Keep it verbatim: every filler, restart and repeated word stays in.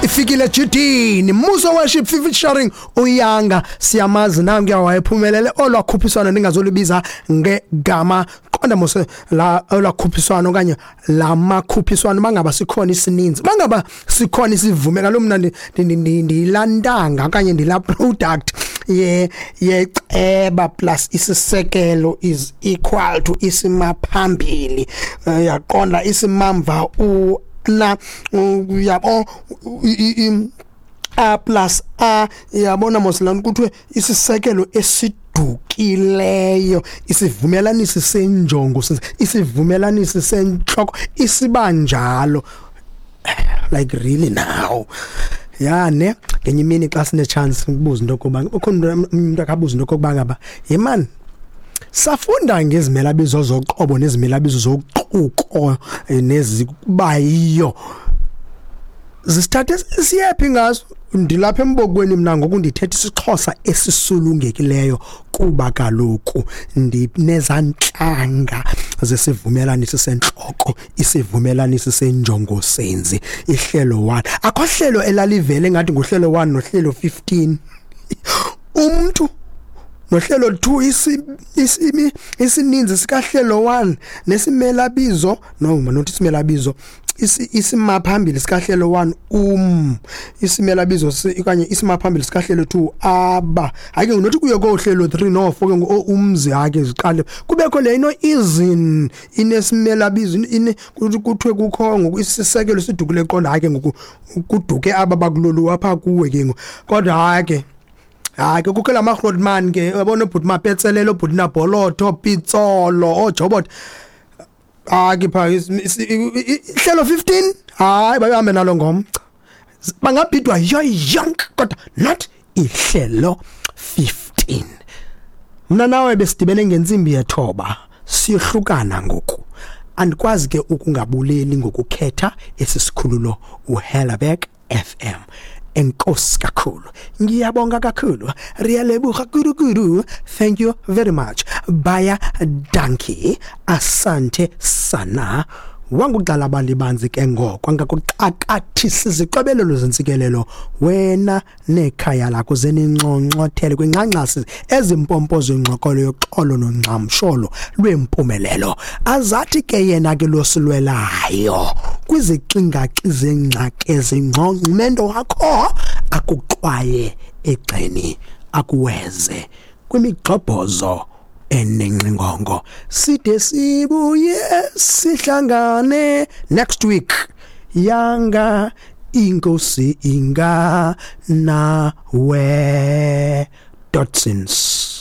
Ifikile Judini Muso Worship featuring uYanga. Siyamazi nangu wayephumelele olwakhuphiswano ningazolibiza ngegama qonda mose la olwakhuphiswano okanye lamakhuphiswano bangaba sikhona isininzi bangaba sikhona isivume kaloku mna ndilantanga okanye ndila product ye yeceba plus isisekelo is equal to isimaphambili, yaqonda isimamva u na uyabo A plus A, yabona mosilana kuthiwe isisekelo esidukileyo, isivumelanisi senjongo, isivumelanisi sentloko isibanjalo. Like really now ya ne ngenye imini xa sine chance ukubuza into yokuba ukhona umuntu akabuza into yokuba ngaba yemani safunda ngezimelabizo zoqobo nezimelabizo zoquko nezibayiyo zisithathe siyephi ngazo. Ndilapha embokweni mina ngoku ndithetha isiXhosa esisulungekileyo kuba kaloku ndinezantlanga zesivumelaniso sentloko, isivumelaniso senjongosenzi, ihlelo one. Akho hlelo elalivele ngathi nguhlelo one nohlelo fifteen. Umntu nohlelo two isi isininzi sikahlelo one nesimelabizo no not isimelabizo isimaphambili sikahlelo one um isimelabizo okanye isimaphambili sikahlelo two aba hayi ke nothi kuye kohlelo three no four ke ngo umzi hake ziqale kubekho le ino izin inesimelabizo ine kuthiwe kukho ngoku isisekelo sidukule qonda hayi ke ngoku kuduke aba bakulolu apha kuwe ke ngoku kodwa hayi ke hayi ke kukho la Grootman ke uyabona ubhuti Mapetselelo ubhuti Nabholotho Pitsolo oJobot hayi pha ihlelo fifteen hayi bahambe nalo ngomca bangabhidwa yonke kodwa not ihlelo fifteen. Mina nawe besidibene ngentsimbi yethoba siyohlukana ngoku. Andikwazi ke ukungabuleli ngokukhetha esisikhululo uHellerberg F M. Enkosi kakhulu, ngiyabonga kakhulu, riyalebuga kudu kudu, thank you very much, baya dankie, asante sana. Wanguqala balibanzi ke ngoko angakuxakathisa izixobelelo zentsikelelo wena nekhaya lakho zeninconcothele kwinxanxasi ezimpompo zengxokolo yoxolo nongxamsholo lwempumelelo. Azathi ke yena ke losilwelayo kwizixingaxi zengxaki ezingqongqumento wakho akuxwaye egxeni akuweze kwimigxobhozo enengxingongo. Side sibuye sihlangane next week. Yanga inkosi inga nawe. Dotsins.